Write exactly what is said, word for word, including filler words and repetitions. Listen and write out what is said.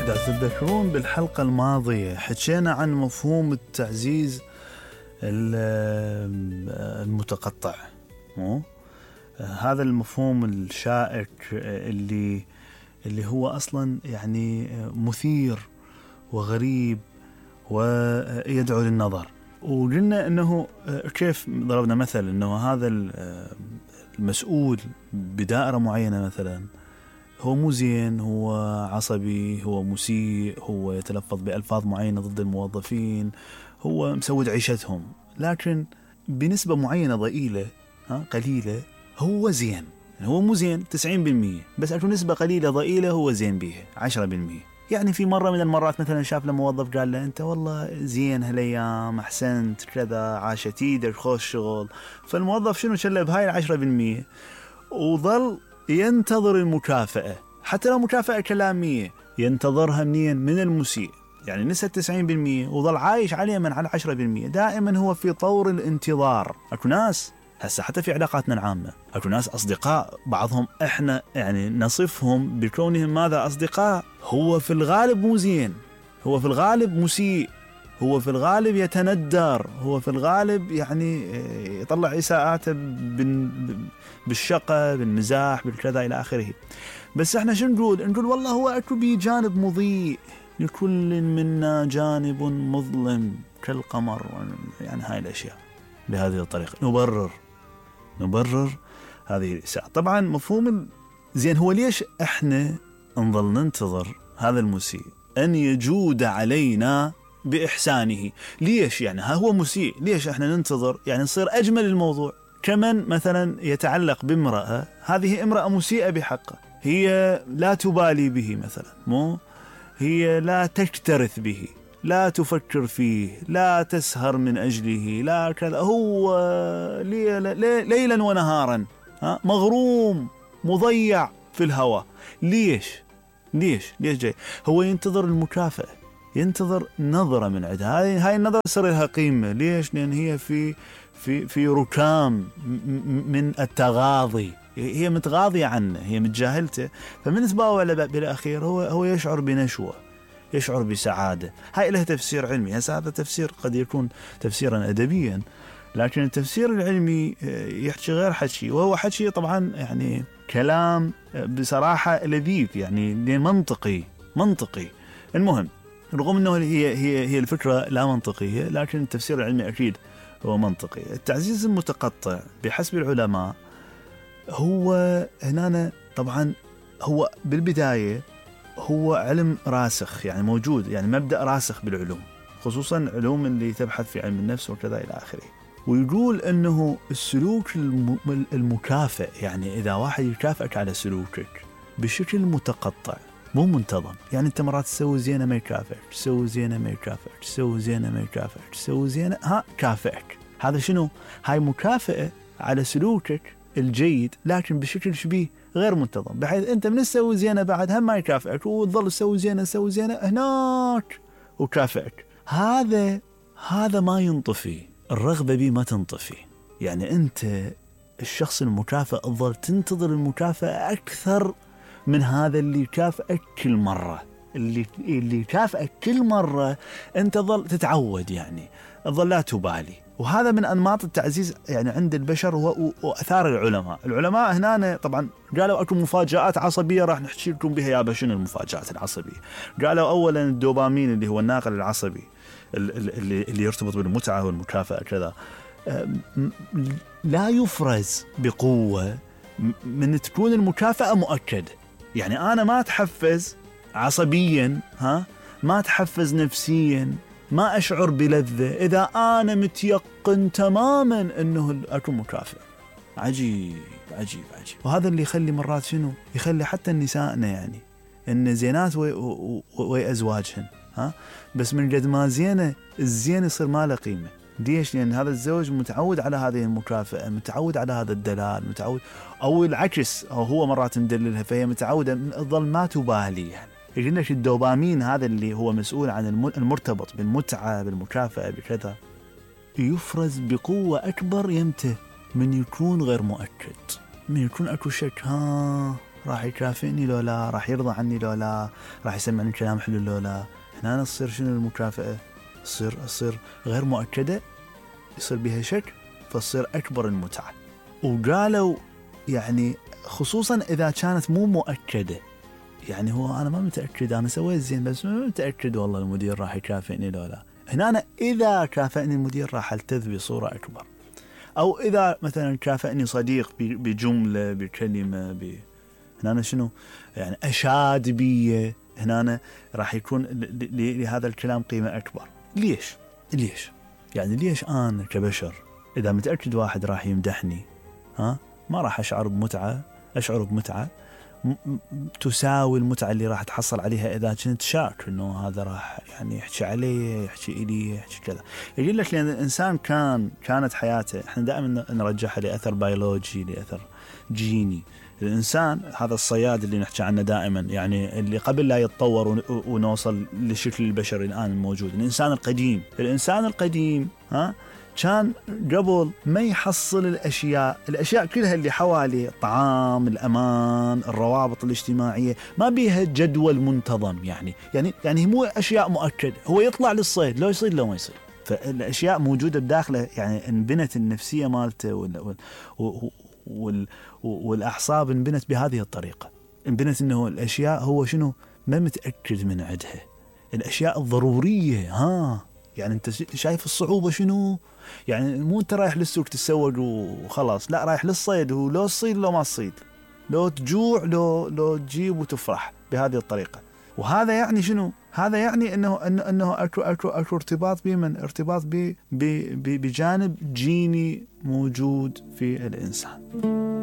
إذا تتذكرون بالحلقة الماضية حكينا عن مفهوم التعزيز المتقطع، مو هذا المفهوم الشائك اللي اللي هو أصلا يعني مثير وغريب ويدعو للنظر. وقلنا أنه كيف ضربنا مثل أنه هذا المسؤول بدائرة معينة مثلا هو مو زين، هو عصبي، هو مسيء، هو يتلفظ بألفاظ معينة ضد الموظفين، هو مسود عيشتهم، لكن بنسبة معينة ضئيلة ها قليلة هو زين. هو مو زين تسعين بالمية، بس أكو نسبة قليلة ضئيلة هو زين بيها عشرة بالمية. يعني في مرة من المرات مثلا شاف له موظف قال له أنت والله زين هالأيام، أحسنت كذا، عاشت ايدك، خوش شغل. فالموظف شنو شله بهاي العشرة بالمية وظل ينتظر المكافأة، حتى لو مكافأة كلامية ينتظرها منين؟ من المسيء. يعني نسى تسعين بالمية وظل عايش عليه من على عشرة بالمية. دائما هو في طور الانتظار. أكو ناس هسه حتى في علاقاتنا العامة، أكو ناس أصدقاء بعضهم إحنا يعني نصفهم بكونهم ماذا؟ أصدقاء. هو في الغالب مو زين، هو في الغالب مسيء، هو في الغالب يتندر، هو في الغالب يعني يطلع إساءاته بالشقة، بالمزاح، بالكذا إلى آخره. بس إحنا شو نقول؟ نقول والله هو أكو بي جانب مضيء، لكل منا جانب مظلم كالقمر. يعني هاي الأشياء بهذه الطريقة نبرر نبرر هذه الإساءة. طبعا مفهوم زين هو ليش إحنا نظل ننتظر هذا المسيء أن يجود علينا بإحسانه؟ ليش يعني ها هو مسيء، ليش إحنا ننتظر يعني نصير أجمل الموضوع؟ كمن مثلا يتعلق بامرأة، هذه امرأة مسيئة بحقه، هي لا تبالي به مثلا، مو هي لا تكترث به، لا تفكر فيه، لا تسهر من أجله، لا كذا، هو ليلا ونهارا ها مغروم مضيع في الهوى. ليش ليش ليش جاي؟ هو ينتظر المكافأة، ينتظر نظرة من عندها. هاي هاي النظرة صار لها قيمة. ليش؟ لأن هي في في في ركام من التغاضي، هي متغاضية عنه، هي متجاهلته. فمن سباوه بالأخير هو هو يشعر بنشوة، يشعر بسعادة. هاي له تفسير علمي. هذا تفسير قد يكون تفسيرا أدبيا، لكن التفسير العلمي يحكي غير حكي، وهو حكي طبعا يعني كلام بصراحة لذيذ، يعني منطقي منطقي. المهم رغم أنه هي هي هي الفكرة لا منطقية، لكن التفسير العلمي أكيد هو منطقي. التعزيز المتقطع بحسب العلماء هو هنا طبعا هو بالبداية هو علم راسخ، يعني موجود، يعني مبدأ راسخ بالعلوم، خصوصا علوم اللي تبحث في علم النفس وكذا إلى آخره. ويقول أنه السلوك المكافئ، يعني إذا واحد يكافئك على سلوكك بشكل متقطع مو منتظم، يعني أنت مرات تسوي زينة ما يكافئك، تسوي زينة ما يكافئك، تسوي زينة ما يكافئك، تسوي زينة ها كافئك. هذا شنو؟ هاي مكافئة على سلوكك الجيد، لكن بشكل شبيه غير منتظم، بحيث أنت من تسوي زينة بعد هم ما يكافئك، وتظل تسوي زينة تسوي زينة هناك وكافئك. هذا هذا ما ينطفي، الرغبة بيه ما تنطفي. يعني أنت الشخص المكافئ تظل تنتظر المكافأة أكثر من هذا اللي يكافئك كل مرة. اللي اللي يكافئك كل مرة أنت ظل تتعود، يعني تظل لا تبالي. وهذا من أنماط التعزيز يعني عند البشر وأثار العلماء. العلماء هنا طبعا قالوا أكو مفاجآت عصبية راح نحكي لكم بها يا بشون. المفاجآت العصبية قالوا أولا الدوبامين اللي هو الناقل العصبي اللي, اللي يرتبط بالمتعة والمكافأة كذا لا يفرز بقوة من تكون المكافأة مؤكدة. يعني أنا ما أتحفز عصبيا، ها ما أتحفز نفسيا، ما أشعر بلذة إذا أنا متيقن تماما أنه أكون مكافئ. عجيب عجيب عجيب. وهذا اللي يخلي مرات شنو يخلي حتى النسائنا يعني إن زينات وأزواجهن، ها بس من قد ما زينة الزين يصير ما له قيمة. ليش؟ لأن هذا الزوج متعود على هذه المكافأة، متعود على هذا الدلال، متعود، أو العكس، أو هو مرات مدللها فهي متعودة تظل ما تبالي. يعني يقول لك الدوبامين هذا اللي هو مسؤول عن المرتبط بالمتعة بالمكافأة بكذا يفرز بقوة أكبر يمته من يكون غير مؤكد، من يكون أكو شك، ها راح يكافئني لو لا، راح يرضى عني لو لا، راح يسمعني كلام حلو لو لا. هنا تصير شنو المكافأة؟ تصير تصير غير مؤكدة، يصير بها شك، فتصير أكبر المتعة. وقالوا يعني خصوصا إذا كانت مو مؤكدة، يعني هو أنا ما متأكد، أنا سويت زين بس ما متأكد والله المدير راح يكافئني لو لا. هنا أنا إذا كافئني المدير راح ألتذ بصورة أكبر، أو إذا مثلا كافئني صديق بجملة بكلمة ب... هنا أنا شنو يعني أشاد بي، هنا أنا راح يكون لهذا الكلام قيمة أكبر. ليش؟ ليش؟ يعني ليش أنا كبشر إذا متأكد واحد راح يمدحني ها ما راح أشعر بمتعة، أشعر بمتعة تساوي المتعة اللي راح تحصل عليها إذا كنت شاك إنه هذا راح يعني يحكي علي، يحكي إلي، يحكي كذا. يقول لك لأن الإنسان كان كانت حياته، إحنا دائما نرجعها لأثر بيولوجي، لأثر جيني. الإنسان هذا الصياد اللي نحكي عنه دائما، يعني اللي قبل لا يتطور ونوصل للشكل البشري الآن الموجود، الإنسان القديم. الإنسان القديم ها كان قبل ما يحصل الأشياء الأشياء كلها اللي حواليه، الطعام، الأمان، الروابط الاجتماعية، ما بيها جدول منتظم. يعني يعني يعني مو أشياء مؤكدة، هو يطلع للصيد لو يصيد لو ما يصيد، فالأشياء موجودة بداخله. يعني انبنت النفسية مالته وال وال وال والأعصاب انبنت بهذه الطريقة. انبنت إنه الأشياء هو شنو ما متأكد من عدها، الأشياء الضرورية. ها يعني أنت شايف الصعوبة شنو؟ يعني مو أنت رايح للسوق تتسوق وخلاص، لا، رايح للصيد، ولو تصيد لو ما تصيد، لو تجوع لو لو تجيب وتفرح بهذه الطريقة. وهذا يعني شنو؟ هذا يعني انه انه انه اكو اكو اكو ارتباط بمن ارتباط ب بجانب جيني موجود في الانسان.